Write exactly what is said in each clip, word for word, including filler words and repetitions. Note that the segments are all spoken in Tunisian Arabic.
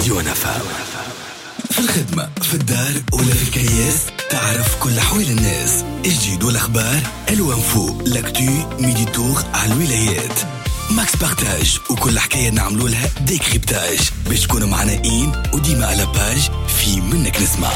ديوان أف أم. في الخدمة، في الدار ولا في الكياس، تعرف كل أحوال الناس، الجديد والأخبار، الو info، l'actu، midi tour على الولايات، max partage وكل حكاية نعملوا لها décryptage باش تكونوا معنا in وديما à la page في منك نسمع.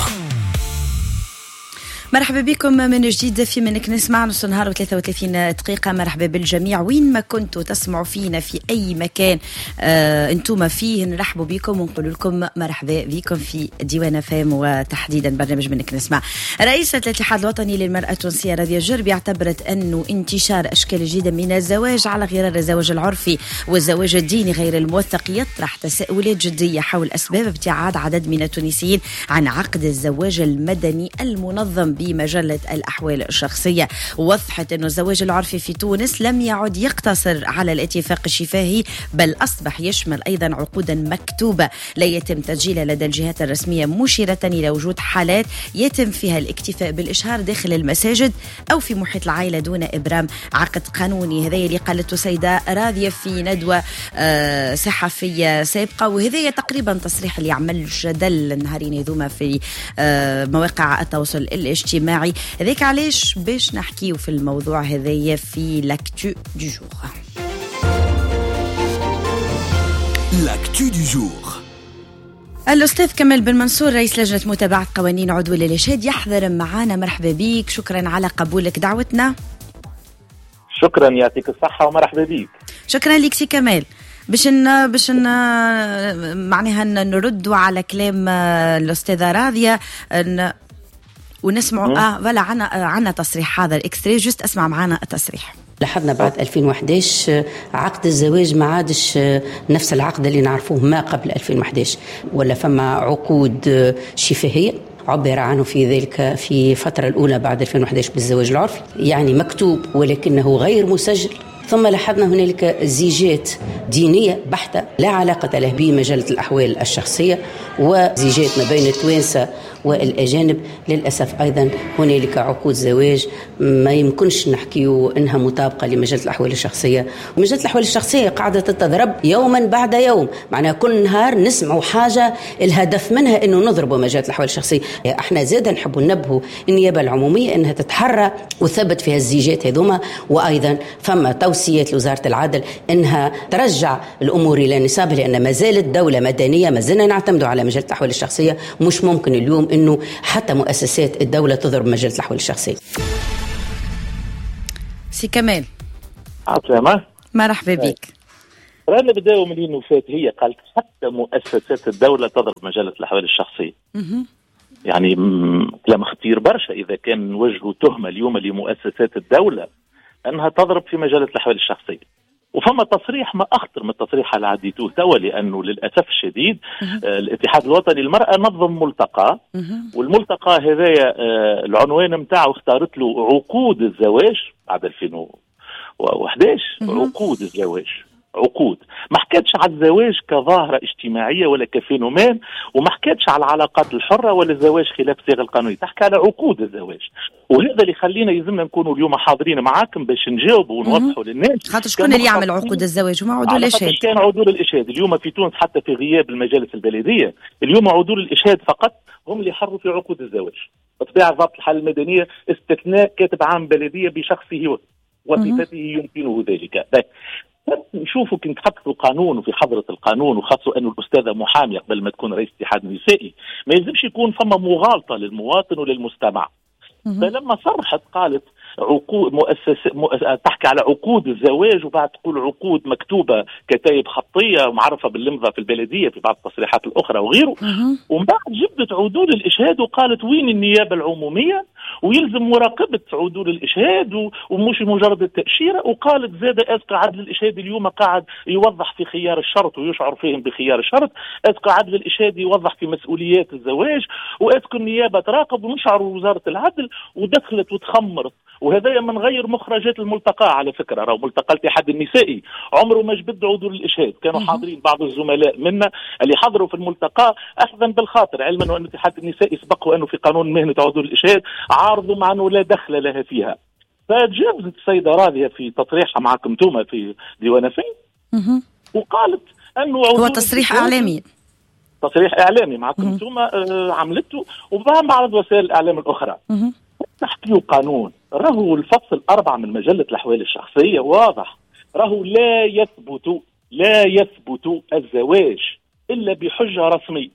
مرحبا بكم من جديد في منك نسمع، نص نهار وثلاثة وثلاثين دقيقة. مرحبا بالجميع وين ما كنتوا تسمعوا فينا، في أي مكان آه انتم فيه، نرحبوا بكم ونقول لكم مرحبا بكم في ديوان أف أم وتحديدا برنامج منك نسمع. رئيسة الاتحاد الوطني للمرأة التونسية راضية الجربي اعتبرت أنه انتشار أشكال جديدة من الزواج على غرار الزواج العرفي والزواج الديني غير الموثق يطرح تساؤلات جدية حول أسباب ابتعاد عدد من التونسيين عن عقد الزواج المدني المنظم بمجلة الأحوال الشخصية. وضحت أن الزواج العرفي في تونس لم يعد يقتصر على الاتفاق الشفاهي، بل أصبح يشمل أيضا عقودا مكتوبة لا يتم تسجيلها لدى الجهات الرسمية، مشيرة إلى وجود حالات يتم فيها الاكتفاء بالإشهار داخل المساجد أو في محيط العائلة دون إبرام عقد قانوني. هذا اللي قالته سيدة راضية في ندوة آه، صحفية سابقة، وهذا تقريبا تصريح اللي عمل جدل النهارين هذوما في آه، مواقع التواصل الاجتماعي. هذاك علاش باش نحكيو في الموضوع هذايا في l'actu du jour. l'actu du jour. الأستاذ كمال بن منصور، رئيس لجنة متابعة قوانين عدول الإشهاد، يحضر معنا. مرحبا بك، شكرا على قبولك دعوتنا. شكرا، يعطيك الصحة ومرحبا بك. شكرا لك سي كمال. باش ن... باش ن... معناها نردوا على كلام الأستاذة راضية ن... ونسمعوا اه voilà، عنا عنا تصريح حاضر extrait، juste اسمع معنا التصريح. لاحظنا بعد ألفين وإحداش عقد الزواج ما عادش نفس العقد اللي نعرفوه ما قبل ألفين وإحداش، ولا فما عقود شفاهية عبر عنه في ذلك في الفترة الأولى بعد ألفين وإحداش بالزواج العرفي، يعني مكتوب ولكنه غير مسجل. ثم لاحظنا هنالك زيجات دينية بحتة لا علاقة له بمجلة الأحوال الشخصية، وزيجات ما بين التوانسة والأجانب. للأسف أيضا هنالك عقود زواج ما يمكنش نحكيو أنها مطابقة لمجلة الأحوال الشخصية. ومجلة الأحوال الشخصية قاعدة تتضرب يوما بعد يوم، معناها كل نهار نسمعوا حاجة الهدف منها أنه نضربوا مجلة الأحوال الشخصية. احنا زاد نحبوا ننبهوا النيابة العمومية أنها تتحرى وثبت فيها الزيجات هذوما، وأيضا فما توصيات لوزارة العدل أنها ترجع الأمور إلى نصابها، لأن ما زالت دولة مدنية، ما زلنا نعتمد على مجلة الأحوال الشخصية. مش ممكن اليوم أنه حتى مؤسسات الدولة تضرب مجلة الأحوال الشخصية. سي كمال. عسلامة. مرحبا بك. رانا بداوا من اللي فات، هي قالت حتى مؤسسات الدولة تضرب مجلة الأحوال الشخصية. يعني كلام خطير برشا إذا كان نوجهوا تهمة اليوم لمؤسسات الدولة أنها تضرب في مجلة الأحوال الشخصية. وفما تصريح ما اخطر من التصريح اللي عديتوه توا، لانه للاسف الشديد آه الاتحاد الوطني للمراة نظم ملتقى، والملتقى هذايا آه العنوان نتاعو اختارت له عقود الزواج بعد ألفين وإحداش. عقود الزواج، عقود، ما حكيتش على الزواج كظاهرة اجتماعية ولا ك phénomène، وما حكيتش على العلاقات الحرة ولا الزواج خلاف الصيغ القانونية، تحكي على عقود الزواج. وهذا اللي خلينا يلزمنا نكونوا اليوم حاضرين معاكم باش نجاوبوا ونوضحوا للناس. خاطر شكون اللي يعمل عقود الزواج؟ هما عدول الاشهاد. كان عدول الاشهاد اليوم في تونس، حتى في غياب المجالس البلدية، اليوم عدول الاشهاد فقط هم اللي يحروا في عقود الزواج. بطبيعة ضبط الحالة المدنية استثناء كاتب عام بلدية بشخصه وصفته يمكنه ذلك. نشوفوا كي نتحط في القانون وفي حضرة القانون، وخاصة أنه الأستاذة محامية قبل ما تكون رئيس اتحاد نسائي، ما يلزمش يكون فما مغالطة للمواطن وللمستمع. فلما صرحت قالت عقود مؤسسة مؤس... تحكي على عقود الزواج وبعد تقول عقود مكتوبة كتايب خطية معرفة باللمضة في البلدية في بعض التصريحات الأخرى وغيره، ومن بعد جبدت عدول الإشهاد وقالت وين النيابة العمومية ويلزم مراقبة عدول الإشهاد ومش مجرد التأشيرة. وقالت زاد est-ce que عدل الإشهاد اليوم قاعد يوضح في خيار الشرط ويشعر فيهم بخيار الشرط، est-ce que عدل الإشهاد يوضح في مسؤوليات الزواج، و est-ce que النيابة تراقب ونشعر وزارة العدل. ودخلت وتخمرت، وهذا من غير مخرجات الملتقى. على فكرة راهو ملتقى الاتحاد النسائي عمره ما جبد عدول الاشهاد، كانوا حاضرين بعض الزملاء منا اللي حضروا في الملتقى اخذا بالخاطر، علما ان الاتحاد النسائي سبق وانه في قانون مهنة عدول الاشهاد عارضوا مع انه لا دخل لها فيها. فتجاوزت السيدة راضية في تصريحها معكم توما في ديوان أف أم وقالت انه هو تصريح اعلامي. تصريح اعلامي معكم انتم آه عملته وبعض وسائل الاعلام الاخرى. تحكيوا قانون، راهو الفصل أربعة من مجلة الأحوال الشخصية واضح، راهو لا يثبت لا يثبت الزواج إلا بحجة رسمية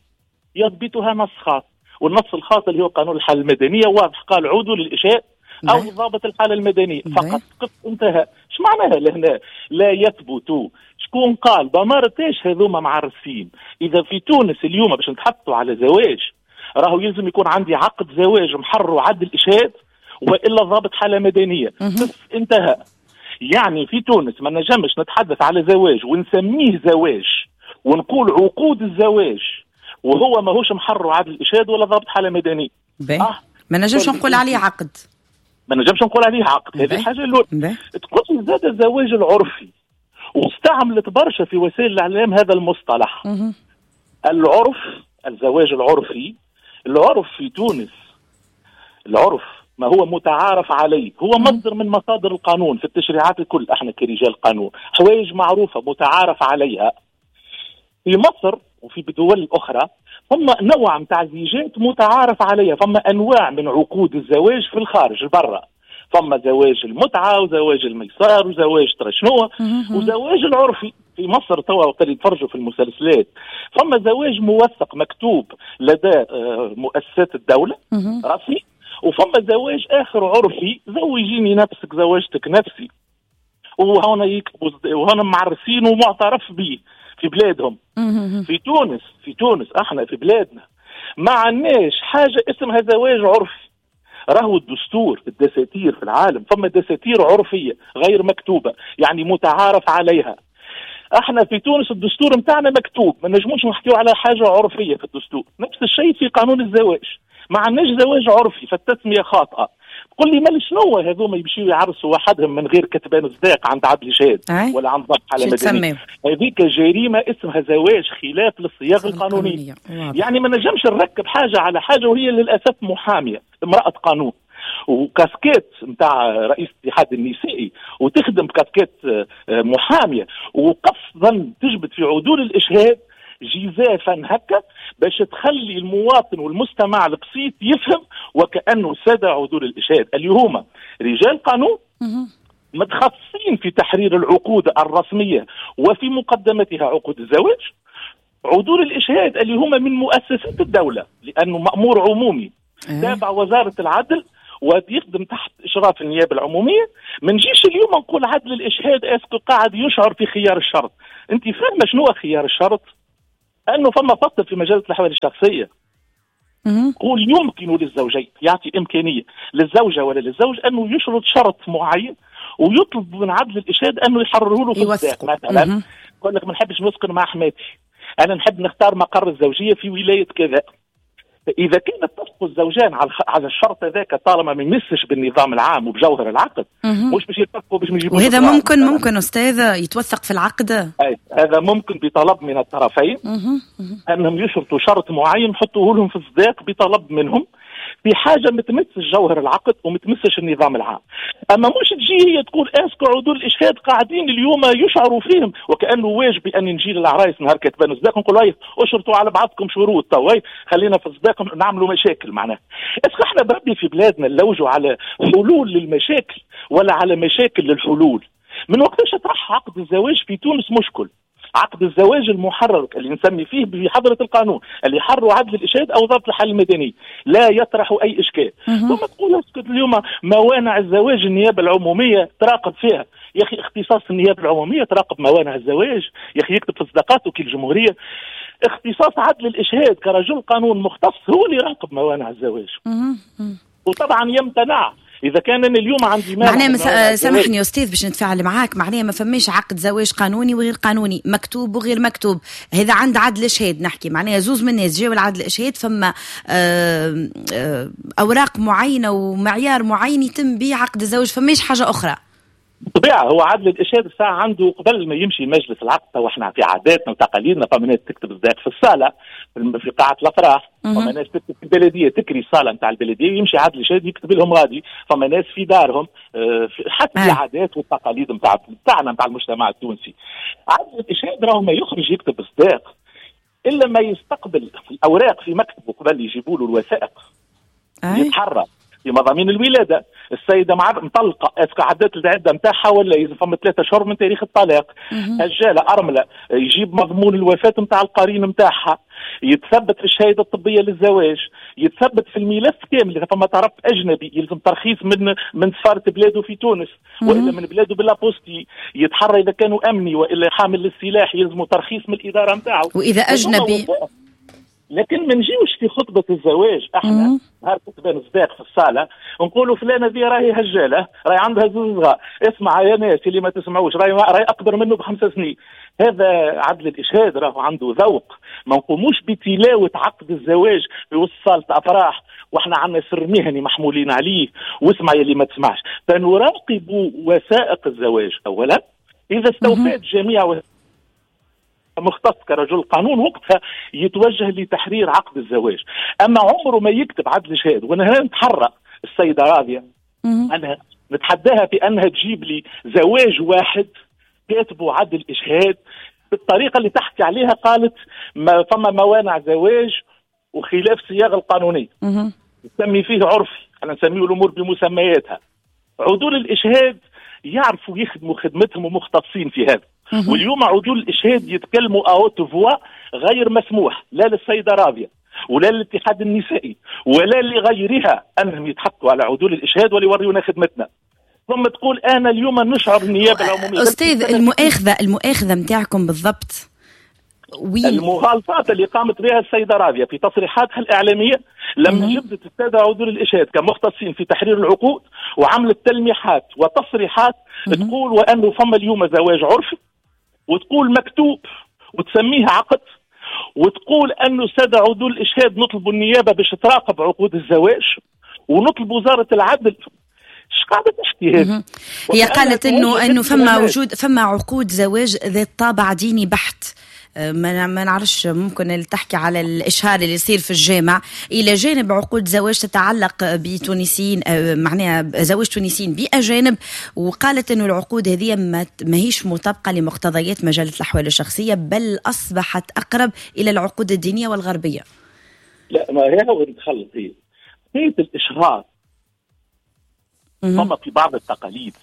يضبطها نص خاص، والنص الخاص اللي هو قانون الحالة المدنية واضح، قال عودوا للإشاء أو ضابط الحالة المدنية فقط، قف انتهى. اش معناها لهنا لا يثبت؟ شكون قال؟ بمارتاش هذوما معرسين. إذا في تونس اليوم باش نتحطوا على زواج راهو يلزم يكون عندي عقد زواج محرر وعدل إشهاد وإلا ضابط حالة مدنية، انتهى. يعني في تونس ما نجمش نتحدث على زواج ونسميه زواج ونقول عقود الزواج وهو ماهوش محرر وعدل إشهاد ولا ضابط حالة مدنية. آه. ما نجمش نقول عليه عقد، ما نجمش نقول عليه عقد. هذه الحاجة الأولى. تقول زاد الزواج العرفي، واستعملت برشا في وسائل الإعلام هذا المصطلح. مه. العرف، الزواج العرفي، العرف في تونس، العرف ما هو متعارف عليه، هو مصدر من مصادر القانون في التشريعات الكل. احنا كرجال قانون حوايج معروفة متعارف عليها. في مصر وفي دول أخرى هم نوع متاع زيجات متعارف عليها، فما أنواع من عقود الزواج في الخارج البرة، فما زواج المتعة وزواج الميسار وزواج ترشنوة وزواج العرفي. في مصر توا وقت اللي يتفرجوا في المسلسلات فما زواج موثق مكتوب لدى مؤسسات الدولة رسمي، وفما زواج آخر عرفي، زوجيني نفسك زواجتك نفسي، وهنا يكتبوا وهنا معرسين ومعترف به في بلادهم. في تونس، في تونس احنا في بلادنا ما عندناش حاجة اسمها زواج عرفي. راهو الدستور، الدساتير في العالم فما دساتير عرفية غير مكتوبة، يعني متعارف عليها. احنا في تونس الدستور متاعنا مكتوب، ما نجموش نحكيو على حاجة عرفية في الدستور. نفس الشيء في قانون الزواج، ما عندناش زواج عرفي، فالتسمية خاطئة. تقول لي مال شنو هذوما يمشيو يعرسوا وحدهم من غير كتبان صداق عند عدل شهاد ولا عند ضبط حالة مدنية؟ هذيك جريمة اسمها زواج خلاف للصياغ القانونية. يعني ما نجمش نركب حاجة على حاجة، وهي للأسف محامية امرأة قانون وكاسكيت نتاع رئيس الاتحاد النسائي وتخدم بكاسكيت محامية، وقصدا تجبد في عدول الإشهاد جزافا هكا باش تخلي المواطن والمستمع البسيط يفهم وكأنه سادة عدول الإشهاد اللي هما رجال قانون متخصصين في تحرير العقود الرسمية وفي مقدمتها عقود الزواج، عدول الإشهاد اللي هما من مؤسسات الدولة لأنه مأمور عمومي تابع وزارة العدل ويخدم تحت إشراف النيابة العمومية. ما نجيش اليوم نقول عدل الإشهاد est-ce que قاعد يشعر في خيار الشرط. أنت فاهمة شنو خيار الشرط؟ أنه فما فصل في مجلة الأحوال الشخصية قول يمكن للزوجين، يعطي إمكانية للزوجة ولا للزوج أنه يشرط شرط معين ويطلب من عدل الإشهاد أنه يحرره له في الصداق. مثلا يقول لك ما نحبش نسكن مع حماتي، أنا نحب نختار مقر الزوجية في ولاية كذا. إذا كان اتفقوا الزوجان على على الشرط هذاك طالما ما يمسش بالنظام العام وبجوهر العقد، مش باش يتفقوا باش يجيبوا. وهذا ممكن ممكن أستاذ يتوثق في العقد؟ أي هذا ممكن بطلب من الطرفين أنهم يشرطوا شرط معين يحطوه لهم في الصداق بطلب منهم في حاجة ما تمسش جوهر العقد وما تمسش النظام العام. اما مش تجي هي تقول est-ce que عدول الاشهاد قاعدين اليوم يشعروا فيهم وكانه واجب ان نجي للعرايس نهار كتبان الصداق نقول هاي اشرطوا على بعضكم شروط تو خلينا في الصداق نعملوا مشاكل. معناها est-ce que احنا بربي في بلادنا نلوجوا على حلول للمشاكل ولا على مشاكل للحلول؟ من وقتاش طرح عقد الزواج في تونس مشكل؟ عقد الزواج المحرر اللي نسمي فيه بحضرة القانون اللي حروا عدل الإشهاد أو ضبط الحال المدني لا يطرح أي إشكال. ثم تقول اسكت اليوم موانع الزواج النيابة العمومية تراقب فيها. يا أخي اختصاص النيابة العمومية تراقب موانع الزواج، يا أخي يكتب في صداقات وكيل الجمهورية. اختصاص عدل الإشهاد كرجل قانون مختص هو اللي يراقب موانع الزواج، وطبعا يمتنع إذا كان أنا اليوم عندي معناه مس... سامحني يا أستاذ باش نتفاعل معاك، معناه ما فماش عقد زواج قانوني وغير قانوني، مكتوب وغير مكتوب، هذا عند عدل إشهاد نحكي، معناها زوز من الناس جاوا لعدل إشهاد فما آه آه أوراق معينة ومعيار معين يتم به عقد الزواج، فماش حاجة أخرى. بالطبيعة هو عدل الإشهاد الساعة عنده قبل ما يمشي مجلس العقد، تو احنا في عاداتنا وتقاليدنا فما ناس تكتب الصداق في الصالة في قاعة الأفراح، فما ناس تكتب في البلدية، تكري الصالة نتاع البلدية يمشي عدل الإشهاد يكتب لهم غادي، فما ناس في دارهم، حتى العادات والتقاليد نتاع نتاعنا نتاع المجتمع التونسي. عدل الإشهاد راهو ما يخرج يكتب الصداق الا ما يستقبل الاوراق في مكتبه قبل يجيبوا له الوثائق، يتحرى في مضامين الولادة، السيدة مع مطلقه est-ce que عدت العدة نتاعها ولا اذا فما ثلاثة اشهر من تاريخ الطلاق، هجاله ارملة يجيب مضمون الوفاة نتاع القرين نتاعها، يتثبت في الشهادة الطبية للزواج، يتثبت في الملف كامل اذا فما طرف اجنبي يلزم ترخيص من من سفارة بلاده في تونس والا من بلاده ب l'apostille، يتحرى اذا كانوا امني والا حامل للسلاح يلزموا ترخيص من الادارة نتاعو واذا اجنبي. لكن ما نجيوش في خطبة الزواج احنا نهار تبان صداق في الصالة نقولوا فلانة ذي راهي هجالة، راهي عندها زوج صغار، اسمع يا ناس اللي ما تسمعوش راهي راهي أكبر منه بخمس سنين. هذا عدل الإشهاد راهو عنده ذوق، ما نقوموش بتلاوة عقد الزواج في وسط صالة أفراح واحنا عندنا سر مهني محمولين عليه، واسمع يا اللي ما تسمعش. فنراقب وثائق الزواج أولا، إذا استوفت جميع مختص كرجل قانون وقتها يتوجه لتحرير عقد الزواج. اما عمره ما يكتب عدل الإشهاد. وانا هنا نتحرى السيدة راضية، انا نتحداها في انها تجيب لي زواج واحد كاتبه عدل الإشهاد بالطريقة اللي تحكي عليها. قالت ما فما موانع زواج وخلاف صياغة القانونية نسمي فيه عرفي، احنا نسميه الامور بمسمياتها. عدول الإشهاد يعرفوا يخدموا خدمتهم ومختصين في هذا. واليوم عدول الإشهاد يتكلموا à haute voix غير مسموح لا للسيدة راضية ولا للاتحاد النسائي ولا لغيرها أنهم يتحطوا على عدول الإشهاد وليوريونا خدمتنا. ثم تقول أنا اليوم نشعر النيابة العمومية. أستاذ، المؤاخذة المؤاخذة متاعكم بالضبط وين؟ المغالطات اللي قامت بها السيدة راضية في تصريحاتها الإعلامية لما جبدت السادة عدول الإشهاد كمختصين في تحرير العقود وعملت تلميحات وتصريحات تقول وأنه فما اليوم زواج عرفي، وتقول مكتوب وتسميه عقد، وتقول أنه السادة عدول الإشهاد نطلب النيابة باش تراقب عقود الزواج ونطلب وزارة العدل. ايش قاعدة تحكي هذه؟ هي قالت انه انه فما وجود فما عقود زواج ذات طابع ديني بحت، ما ما نعرفش، ممكن تحكي على الاشهار اللي يصير في الجامع، الى جانب عقود زواج تتعلق بتونسيين، معناها زواج تونسيين باجانب. وقالت انه العقود هذه ما ماهيش مطابقه لمقتضيات مجلة الاحوال الشخصية، بل اصبحت اقرب الى العقود الدينية والغربية. لا، ما هي هو تخلط هي حكاية الاشهار. فما في بعض التقاليد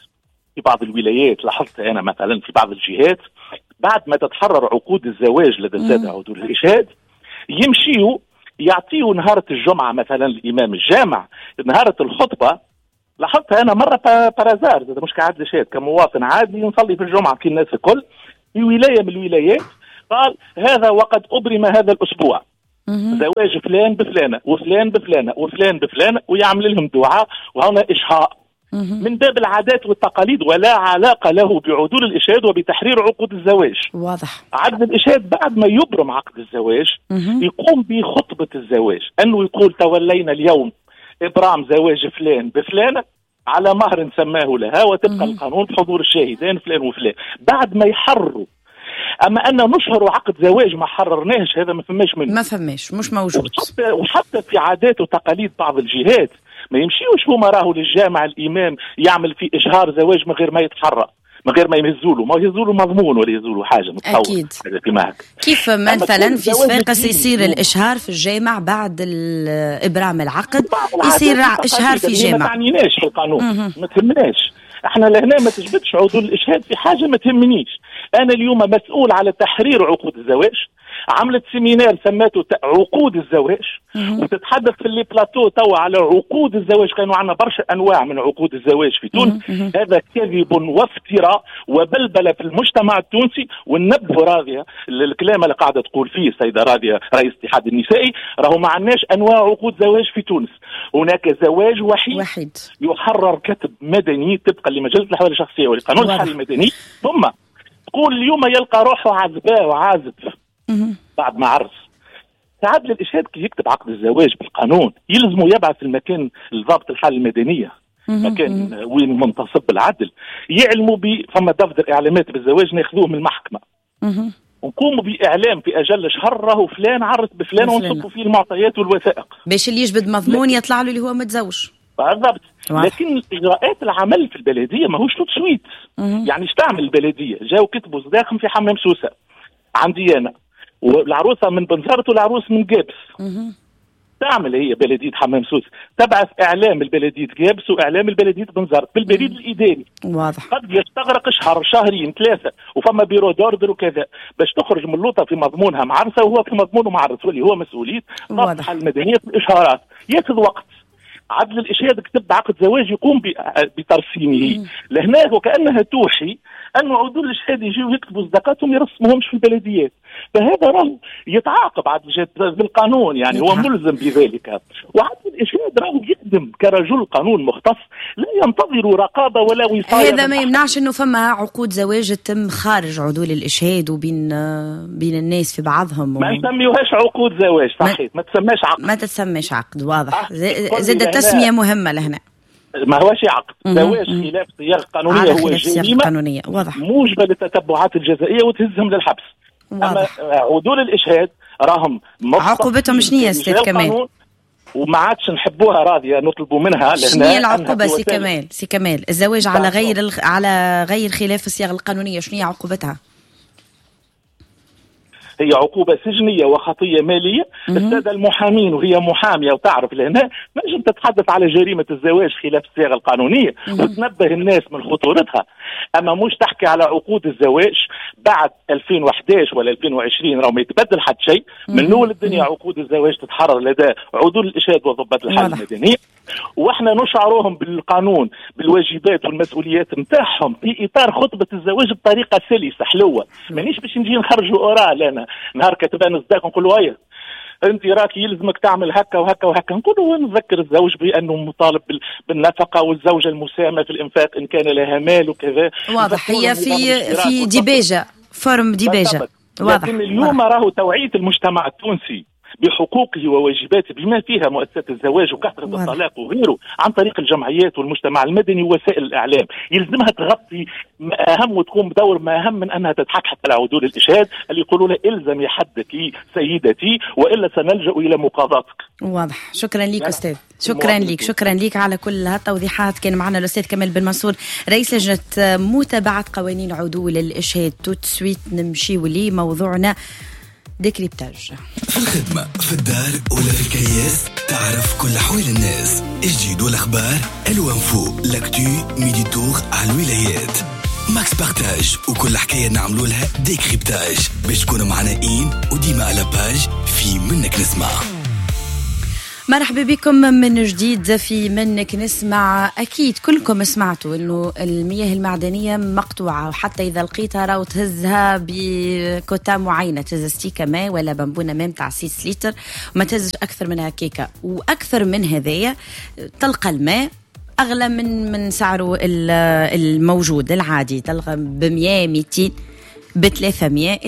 في بعض الولايات، لاحظت انا مثلا في بعض الجهات بعد ما تتحرر عقود الزواج لدى السادة عدول الإشهاد يمشيوا يعطيوا نهارة الجمعة مثلا الإمام الجامع نهارة الخطبة. لاحظتها أنا مرة par hasard، مش كعدل إشهاد، كمواطن عادي نصلي في الجمعة كي الناس الكل، في ولاية من الولايات قال هذا وقد أبرم هذا الأسبوع زواج فلان بفلانة وفلان بفلانة وفلان بفلانة، ويعمل لهم دعاء وهنا إشهار من باب العادات والتقاليد، ولا علاقة له بعدول الإشهاد وبتحرير عقود الزواج. واضح. عدل الإشهاد بعد ما يبرم عقد الزواج يقوم بخطبة الزواج، أنه يقول تولينا اليوم إبرام زواج فلان بفلانة على مهر سماه لها، وتبقى القانون بحضور الشاهدين فلان وفلان بعد ما يحرروا. أما أن نشهر عقد زواج ما حررناهش، هذا ما فماش منه، ما فماش، مش موجود. وحتى, وحتى في عادات وتقاليد بعض الجهات ما يمشيوش هما راهو للجامع الإمام يعمل في إشهار زواج من غير ما يتحرى، من غير ما يهزوله، ما يهزوله مضمون ولا يهزوله حاجة متصور. أكيد. كيف مثلا في صفاقس يصير الإشهار في الجامع بعد إبرام العقد، يصير إشهار في جامع. ما تعنيناش في القانون، ما تهمناش احنا لهنا، ما تجبدش عدول الإشهاد في حاجة ما تهمنيش. أنا اليوم مسؤول على تحرير عقود الزواج، عملت séminaire سماته عقود الزواج، وتتحدث في les plateaux توا على عقود الزواج. كانوا عندنا برشا انواع من عقود الزواج في تونس. هذا كذب وافتراء وبلبله في المجتمع التونسي. وننبه راضية الكلام اللي قاعدة تقول فيه السيدة راضية رئيس الاتحاد النسائي، راهو ما عندناش انواع عقود زواج في تونس. هناك زواج وحيد, وحيد. يحرر كتب مدني طبقا لمجله الاحوال الشخصية ولقانون الحال المدني. ثم تقول اليوم يلقى روحه عزباء وعازب بعد ما عرس. عدل الإشهاد كي يكتب عقد الزواج بالقانون يلزمه يبعث المكان لضابط الحالة المدنية، مكان وين منتصب العدل، يعلموا ب فما دفتر إعلامات بالزواج ناخذوه من المحكمة، ونقوموا بإعلام في أجل شهر راهو فلان عرس بفلان، ونصبوا فيه المعطيات والوثائق باش اللي يجبد مضمون يطلع له اللي هو متزوج. بالضبط. لكن إجراءات العمل في البلدية ماهوش tout de suite. يعني اش تعمل البلدية؟ جاو كتبوا صداقهم في حمام سوسة عندي أنا، والعروسه من بنزرت والعروس من قابس. تعمل هي بلديه حمام سوس تبعث اعلام البلدية قابس واعلام البلدية بنزرت بالبريد الاداري. واضح. قد يستغرق شهر شهرين ثلاثة، وفما bureau d'ordre وكذا باش تخرج من اللوطه في مضمونها معرسه وهو في مضمونه معرس، واللي هو مسؤولية ضبط المدنية في الاشهارات، ياخذ وقت. عدل الإشهاد كتب عقد زواج يقوم بترسيمه. لهنا وكأنها توحي أن عدول الإشهاد يجيو يكتبوا صداقاتهم يرسموهمش في البلديات، فهذا راهو يتعاقب عدل الإشهاد بالقانون، يعني هو ملزم بذلك. وعدل الإشهاد راهو يخدم كرجل قانون مختص لا ينتظر رقابة ولا وصاية. هذا ما يمنعش أنه فما عقود زواج تتم خارج عدول الإشهاد وبين بين الناس في بعضهم و... ما نسميوهاش عقود زواج، صحيح، ما تسماش عقد، ما تسميش عقد، واضح. زاد التسمية مهمة لهنا، ما هوش عقد زواج خلاف صيغ قانونية، هو جريمة قانونية واضح موجبة للتتبعات الجزائية وتهزهم للحبس. واضح. أما عدول الإشهاد راهم عقوبتهم شنو يا أستاذ كمال؟ وما عادش نحبوها راضية نطلبوا منها. شنو هي العقوبة سي كمال؟ سي كمال الزواج على غير الخ... على غير خلاف الصيغ القانونية شنو هي عقوبتها؟ هي عقوبة سجنية وخطية مالية. السادة المحامين وهي محامية وتعرف لهنا نجم تتحدث على جريمة الزواج خلاف الصيغة القانونية وتنبه الناس من خطورتها، أما مش تحكي على عقود الزواج بعد ألفين وأحد عشر ولا ألفين وعشرين، راهو ما يتبدل حد شيء. من أول الدنيا عقود الزواج تتحرر لدى عدول الإشهاد وضباط الحالة المدنية، واحنا نشعرهم بالقانون بالواجبات والمسؤوليات نتاعهم في اطار خطبه الزواج بطريقة سلسه حلوة. مانيش باش نجي نخرجوا oral انا نهار كتبان الصداق نقولوا هيا انت راك يلزمك تعمل هكا وهكا وهكا، نقولوا نذكر الزوج بانه مطالب بالنفقة والزوجة المساهمة في الانفاق ان كان لها مال وكذا. واضح. هي في في ديباجه forme ديباجه. واضح. لكن اليوم راهو توعيه المجتمع التونسي بحقوقه وواجباته بما فيها مؤسسات الزواج وكثرة الطلاق وغيره عن طريق الجمعيات والمجتمع المدني ووسائل الإعلام يلزمها تغطي أهم وتقوم بدور ما أهم من أنها تتحكحك على عدول الإشهاد اللي يقولوا لها إلزمي حدك سيدتي وإلا سنلجأ إلى مقاضاتك. واضح. شكرا لك أستاذ، شكرا لك، شكرا لك على كل هالتوضيحات. كان معنا الأستاذ كمال بن منصور رئيس لجنة متابعة قوانين عدول الإشهاد. tout de suite نمشي ولي موضوعنا décryptage. في الخدمة، في الدار ولا في الكياس، تعرف كل حوال الناس، الجديد والأخبار، ال info، l'actu، midi tour على الولايات، Max Partage وكل حكاية نعملوا لها décryptage باش تكونوا معنا إين وديما على page في منك نسمع. مرحبا بكم من جديد في منك نسمع. أكيد كلكم سمعتوا أنه المياه المعدنية مقطوعة، وحتى إذا لقيتها راو تهزها بكوتا معينة، تهز ستيكة ماء ولا بامبونة ماء متاع ستة لتر وما تهزش أكثر منها كيكة، وأكثر من هذايا تلقى الماء أغلى من من سعره الموجود العادي، تلقى بمية ميتين بثلاثمية.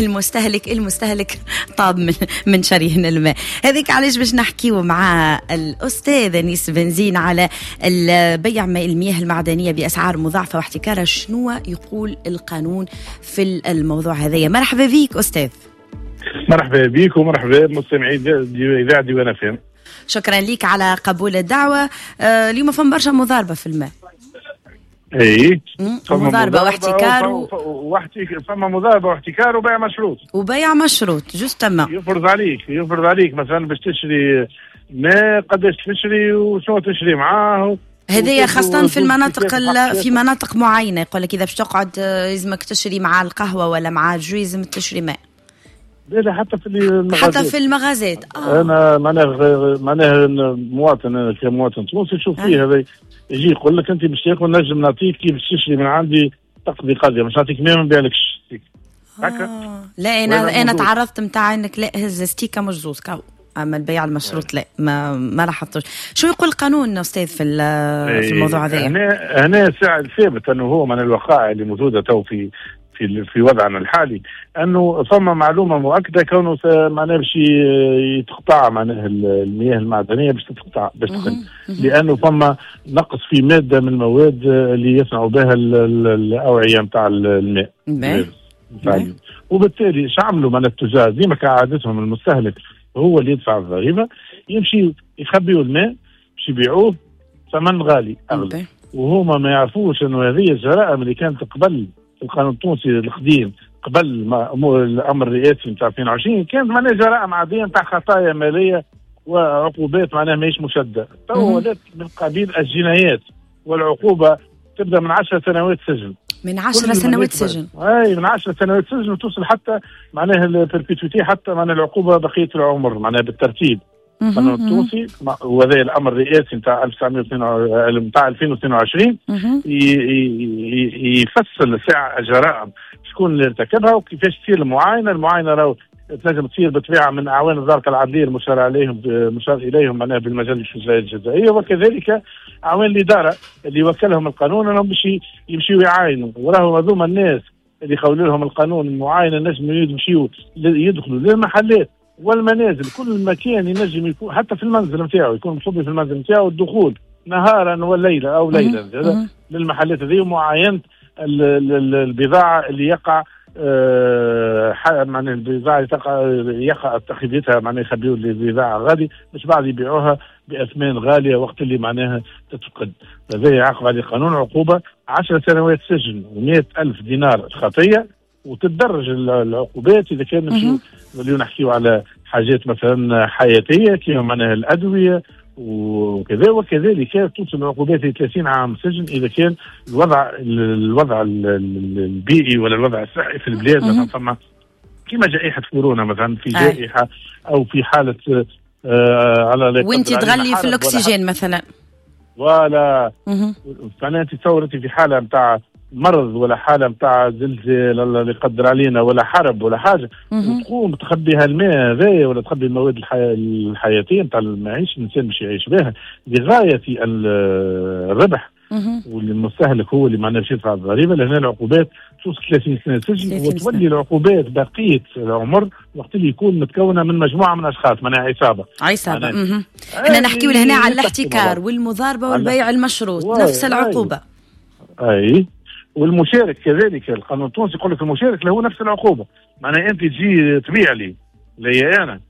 المستهلك المستهلك طاب من من شريهن الماء. هذيك علاش باش نحكيو مع الأستاذ أنيس بنزين على بيع المياه المعدنية بأسعار مضاعفة واحتكارها، شنو يقول القانون في الموضوع هذايا. مرحبا بيك أستاذ. مرحبا بيك ومرحبا بمستمعي إذاعة ديوان اف ام. شكرا لك على قبول الدعوة. اليوم فما برشا مضاربة في الماء. اي مضاربة واحتكار و... واحتك... فما مضاربة واحتكار وبيع مشروط. وبيع مشروط justement يفرض عليك يفرض عليك مثلا باش تشري ماء قداش تشري وشنو تشري معاه. هذه خاصة في المناطق ال... في مناطق معينة يقول لك إذا باش تقعد لازمك تشري مع القهوة ولا مع ال jus لازم تشري ماء. لا لا حتى في المغازات. حتى في المغازات. آه. انا معناه معناه مواطن، انا كمواطن تونسي نشوف فيه هذا يجي يقول لك انت باش تاكل نجم نعطيك كيف تشري من عندي تقضي قضية، مش نعطيك مية ما نبيعلكش هكا. آه. لا انا انا تعرضت نتاع انك لا هز ستيكه مش زوز كاو، اما البيع المشروط لا ما ما لاحظتوش. شو يقول القانون استاذ في في الموضوع هذا؟ هنا هنا ساعة ثابت انه هو من الوقائع اللي موجودة تو في في في وضعنا الحالي انه ثم معلومة مؤكدة كونه معناها باش يتقطع معناها المياه المعدنية باش تتقطع باش تقل، لانه فما نقص في مادة من المواد اللي يصنعوا بها الاوعية نتاع الماء. وبالتالي ايش عملوا معناها التجار ديما كعادتهم المستهلك هو اللي يدفع الضريبة، يمشي يخبيوا الماء باش يبيعوه ثمن غالي اغلى، وهما ما يعرفوش انه هذه الجرائم اللي كانت قبل القانون التونسي القديم قبل ما الامر الرئاسي نتاع اثنين وعشرين كانت معناها جرائم عادية نتاع خطايا ماليه وعقوبات معناها ماهيش مشددة. تو ولات من قبيل الجنايات، والعقوبة تبدا من عشر سنوات سجن. من عشر سنوات سجن. اي من عشر سنوات سجن وتوصل حتى معناها ال perpétuité، حتى معناها العقوبة بقية العمر معناها بالترتيب. القانون التونسي وهذا الامر الرئاسي نتاع ألف وتسعمية نتاع ألفين واثنين وعشرين يفصل ساعة الجرائم شكون اللي ارتكبها وكيفاش تصير المعاينة. المعاينة راهو تنجم تصير بالطبيعة من اعوان الضابطه العدليه المشار عليهم المشار اليهم معناها بالمجلس الجزائيه، وكذلك اعوان الادارة اللي وكلهم القانون انهم باش يمشيوا يعاينوا. وراهو هذوما الناس اللي خولوا لهم القانون المعاينة نجموا يمشيوا يدخلوا للمحلات والمنازل، كل مكان ينجم يكون حتى في المنزل نتاعو يكون مصبي في المنزل نتاعو، الدخول نهارا وليلا او ليلا للمحلات هذه ومعاينه البضاعة اللي يقع آه معناها البضاعة اللي تقع يقع تخبيتها معناها يخبيوا البضاعة غادي باش بعد يبيعوها باثمان غالية وقت اللي معناها تتفقد. هذا يعاقب عليه قانون عقوبه عشر سنوات سجن ومئة ألف دينار خطيه، وتتدرج العقوبات اذا كان نمشيو نوليو نحكيو على حاجات مثلا حياتيه كيما معناها الادوية وكذا، وكذلك توصل العقوبات ل ثلاثين عام سجن اذا كان الوضع الوضع البيئي ولا الوضع الصحي في البلاد مثلا فما كيما جائحة كورونا مثلا في جائحة او في حاله آه على وانت تغلي في الاكسجين مثلا ولا معناها انت تصور انت في حاله نتاع مرض ولا حاله نتاع زلزال الله اللي يقدر علينا ولا حرب ولا حاجة وتقوم تخبي هالماء هذايا ولا تخبي المواد الحي... الحياتية نتاع المعيشة الانسان باش يعيش بها لغاية الربح، والمستهلك هو اللي معناه باش يدفع الضريبة. لهنا العقوبات توصل ثلاثين سنة سجن، وتولي العقوبات بقية العمر وقت اللي يكون متكونه من مجموعة من اشخاص معناها عصابة. عصابة. احنا نحكيو لهنا على الاحتكار والمضاربه والبيع المشروط نفس العقوبة. اي والمشارك كذلك القانون التونسي يقول لك المشارك له نفس العقوبة، معناها انت تجي تبيع لي لي انا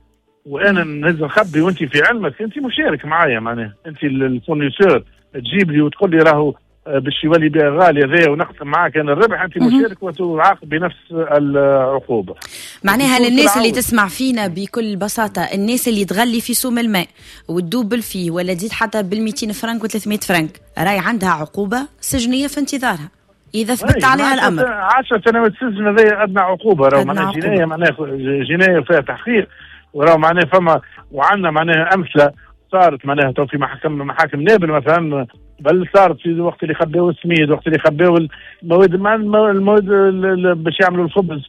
وانا نهز نخبي وانت في علمك انت مشارك معايا، معناها انت ال fournisseur تجيب لي وتقول لي راهو باش يولي بيع غالي هذايا ونقسم معاك انا الربح، انت مشارك وتعاقب بنفس العقوبة. معناها للناس اللي تسمع فينا بكل بساطة، الناس اللي تغلي في سوم الماء وتدوبل فيه ولا تزيد حتى بال مئتين فرنك و ثلاثمية فرنك راي عندها عقوبه سجنيه في انتظارها اذا ثبت عليها الامر. عشر سنوات سجن هذه ادنى عقوبه، راهو معناها جناية، معناها جناية فيها تحقيق، وراهو معناها فما وعندنا معناها امثلة صارت معناها تو في محاكم محاكم نابل مثلا، بل صارت في وقت اللي خباو السميد، وقت اللي خباو المواد المواد باش يعملوا الخبز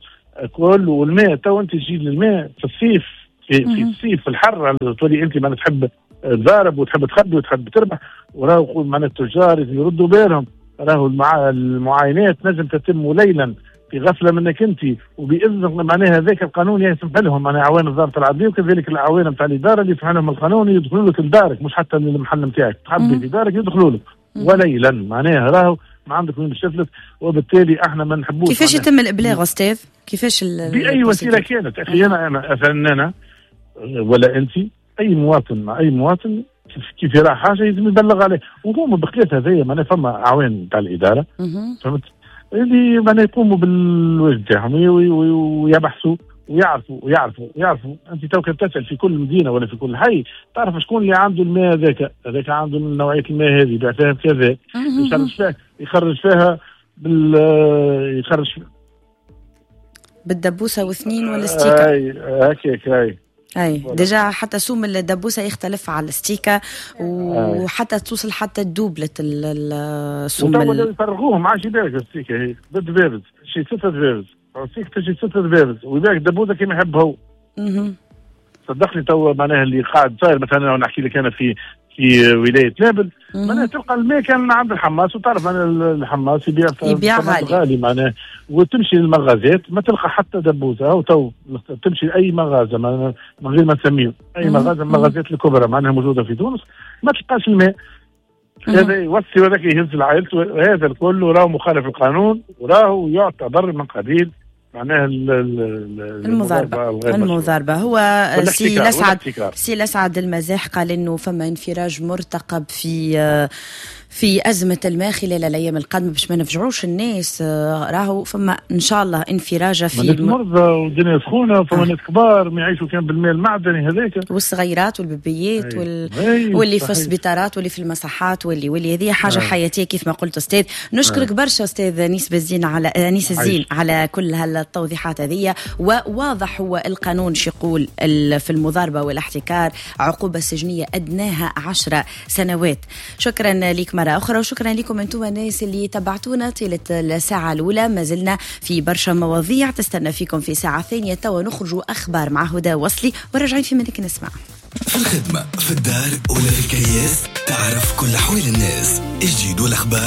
كل والماء. تو انت تجي للماء في الصيف في, في الصيف في الحر تولي انت معناها تحب تضارب وتحب تخبي وتحب تربح، وراهو معناها التجار يردوا بالهم، راهو المعاينات نجم تتم ليلا في غفلة منك انت وباذن معناها هذاك القانون يسمح لهم معناها اعوان الضابط العدلي وكذلك الاعوان نتاع الادارة اللي يسمح لهم القانون يدخلوا لك لدارك، مش حتى للمحل نتاعك تخبي في دارك يدخلوا لك وليلا معناها راهو ما عندك وين باش تفلت. وبالتالي احنا ما نحبوش. كيفاش يتم الابلاغ استاذ؟ كيفاش باي وسيلة كانت اخي، انا انا مثلا انا ولا انت اي مواطن مع اي مواطن كيف يرى حاجة لازم يبلغ عليه، وهما بخلاف هذايا معناها فما اعوان تاع الادارة فهمت اللي معناها يقوموا بالواجب تاعهم ويبحثوا ويعرفوا ويعرفوا ويعرفوا. انت تو كي تسال في كل مدينة ولا في كل حي تعرف شكون اللي عنده الماء هذاك، هذاك عنده نوعية الماء هذه يبيع فيها بكذا، يخرج فيها يخرج فيها بال يخرج بالدبوسه واثنين ولا ستيكه. اي هكاك اي اي déjà حتى سوم الدبوسه يختلف على الستيكه، وحتى توصل حتى دوبلة السوم. وتوا يفرغوهم ما عادش يبيعك الستيكه هي بالدبابز، شي ستة دبابز، الستيكه تجي ستة دبابز ويبيعك دبوزه كيما يحب هو. صدقني تو معناها اللي قاعد صاير مثلا نحكي لك انا في في ولاية نابل معناها تلقى الماء كان عند الحماس، وتعرف معناها الحماس يبيع يبيع غالي, غالي معناها، وتمشي للمغازات ما تلقى حتى دبوزه، او تو تمشي لاي مغازه معناها من غير ما نسميه اي مغازه من المغازات الكبرى معناها موجودة في تونس ما تلقاش الماء. هذا يوصي وذاك يهز لعائلته، هذا الكل راهو مخالف القانون وراهو يعتبر من قبيل معناها المضاربة. المضاربة هو سي لسعد سي لسعد المزاح قال انه فما انفراج مرتقب في في أزمة الماء خلال الأيام القادمة باش ما نفجعوش الناس. راهو فما إن شاء الله انفراجة في الم... مرضى والدنيا سخونة، فما ناس كبار ما يعيشوا كان بالماء المعدني هذاك، والصغيرات والبيبيات وال... واللي في السبيطارات واللي في المصحات واللي واللي هذه حاجة أي. حياتية كيف ما قلت أستاذ. نشكرك أي. برشا أستاذ أنيس بالزين على أنيس الزين على كل هالتوضيحات هذه. وواضح هو القانون شو يقول في المضاربة والاحتكار، عقوبة سجنية أدناها عشرة سنوات. شكرا لك مرة أخرى، وشكرا لكم أنتم الناس اللي تبعتونا طيلة الساعة الأولى. ما زلنا في برشا مواضيع تستنى فيكم في ساعة ثانية. توا نخرجوا أخبار مع هدى وصلي وراجعين في منك نسمع. في الخدمة، في الدار ولا في الكياس، تعرف كل أحوال الناس، الجديد والأخبار.